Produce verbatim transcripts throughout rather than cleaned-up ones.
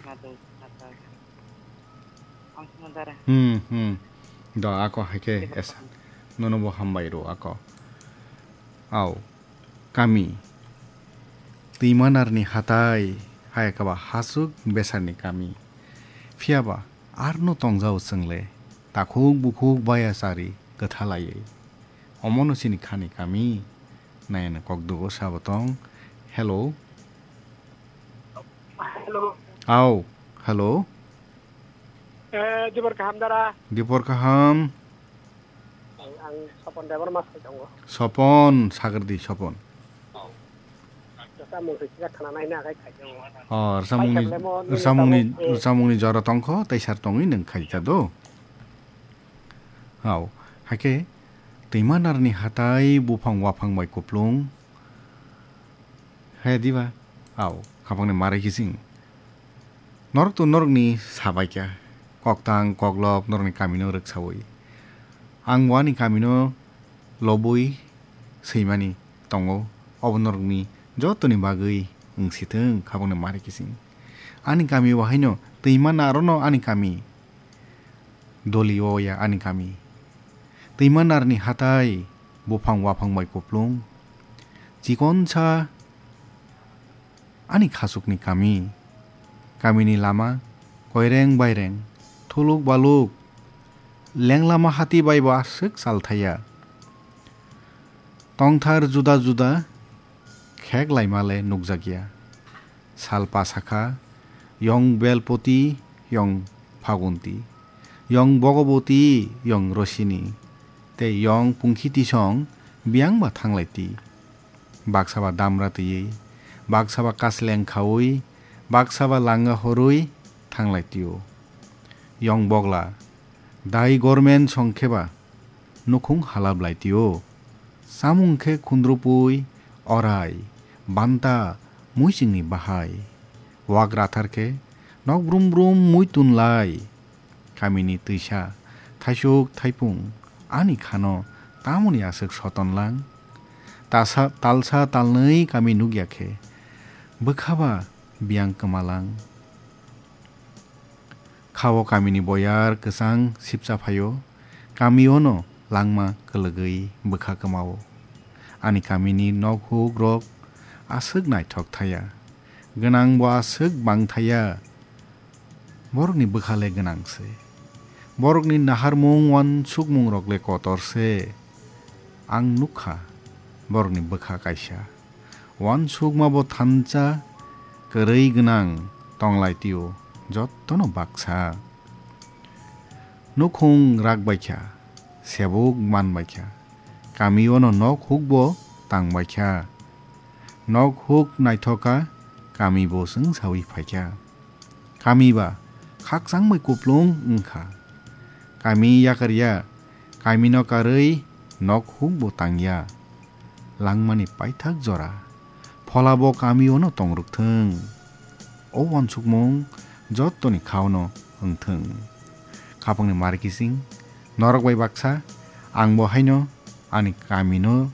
Nadung, nadung. Ang sima dara. Hmm, hmm. Do ako hai khe Debor esa. Kaham. Nono bo hambai ro ako. Au. Kami. Twimanarni hatai, hai khe ba hasuk besarni kami. Phiya ba arno tongjao chwng le. Takhuk bukhuk baya chari kwtha laiwi. Omono chini khani kami. Nayana kok dugo sabo tong. Hello. Hello. Au. Hello. Eh, Dibor kaham dara. Dibor kaham. Ang, ang Sopon Debor mas tongo. Sopon, sagri di Sopon. Rwchapmung se sida khana nai na khai khai tongo. Oh, rwchapmungni, Paithak lemon, rwchapmungni, tabuk, eh. Rwchapmungni jora tongkho, tei sar tongwi nwng khai ta do. Au, hakhe twimanarni hatai buphang waphang bai kuplung. He diba? Au, khapangni mari kising. Norok to norokni sabaikha. Koktang, koklop, norokni kamino rwksawi. Ang bo ani kamino lobwi swimani tongo. Obo norokni jotoni bagwi wngsithwng, khapangni mari kising. Ani kami bo haino twima narono ani kami. Doli o ya ani kami. Twimanarni hatai, buphang waphang bai kuplung. Chikonsa ani khasukni kami. Kamini lama, koireng baireng, thuluk baluk, lenglama hati bai bo aswk salthaya. Tongthar juda juda, khek laima le nukjakya. Sal pasakha, yong Belpoti, yong Phagunti, yong Bogoboti, yong Rosini, tei yong Pungkhitisong biyang ba thanglai ti. Baksa ba damra twiwi, baksa ba kasleng khaui, baksa ba langa horui thanglai tio. Yong Bogla, dai gormen song khe ba nukhung halap lai tio. Samung khe khundrupui, orai, banta, muisingni bahai. Wak rathar khe nok brum brum mui tun lai. Kamini twisa, thaisuk thaipung, ani khano tamoni aswk soton lang. Tasa, talsa talnwi kami nukya khe, bwkha ba biyang kwma lang. Khao kamini boyar kwchang sipcha phaio, kamiono langma kwlwgwi bwkha kwmao. Ani kamini nok huk rok aswk naithok thaya, gwnang bo aswk bang thaya, borokni bwkha le gwnang se. Borokni naharmung wansukmung rok le kotor se. Ang nukha borokni bwkha kaisa. Wansukma bo thansa kwrwi gwnang tonglai tio, jottono baksa. Nukhung rak baikha, sebuk man baikha, kamiono nok huk bo tang baikha. Nok huk naithokha, kami bo chwng sawi phaikha. Kami ba khakchang bai kuplung wngkha. Kami yakarya, kamino karwi nok huk bo tangya. Langmani paithak jora, phola bo kamiono tongrwkthwng. O wansukmung jottoni khaono wngthwng. Khapangni mari kising, norok bai baksa, ang bo haino ani kamino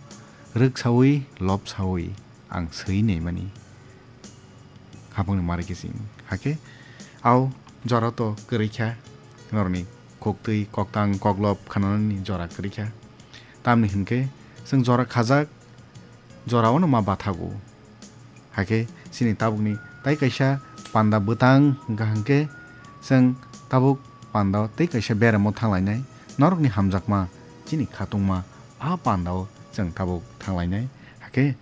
rwksawi, lobsawi, ang swi naimani. Khapangni mari kising. Hakhe, au jora to kwrwi kha, norokni khuktwi, koktang, koklop khanani jora kwrwi kha. Tamni hinkhe, chwng jora khajak, jorao no ma bathago. Hakhe, chini tabukni tai kaisa panda bwtang wngkha hinkhe, chwng tabuk pandao tei kaisa beramo thanglainai. Norokni hamjakma, chini khatungma, a pandao chwng tabuk thanglainai. Hakhe,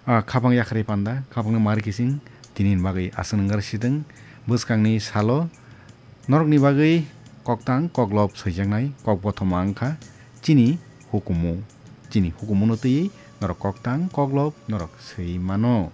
Ah, khapang yakarwi panda, khapangni mari kising, tinini bagwi aswk nangkar sidwng, bwskangni salo norokni bagwi koktang koklop swijaknai kok bothoma wngkha chini hukumu. Chini hukumuno twiwi norok koktang koklop norok swi mano.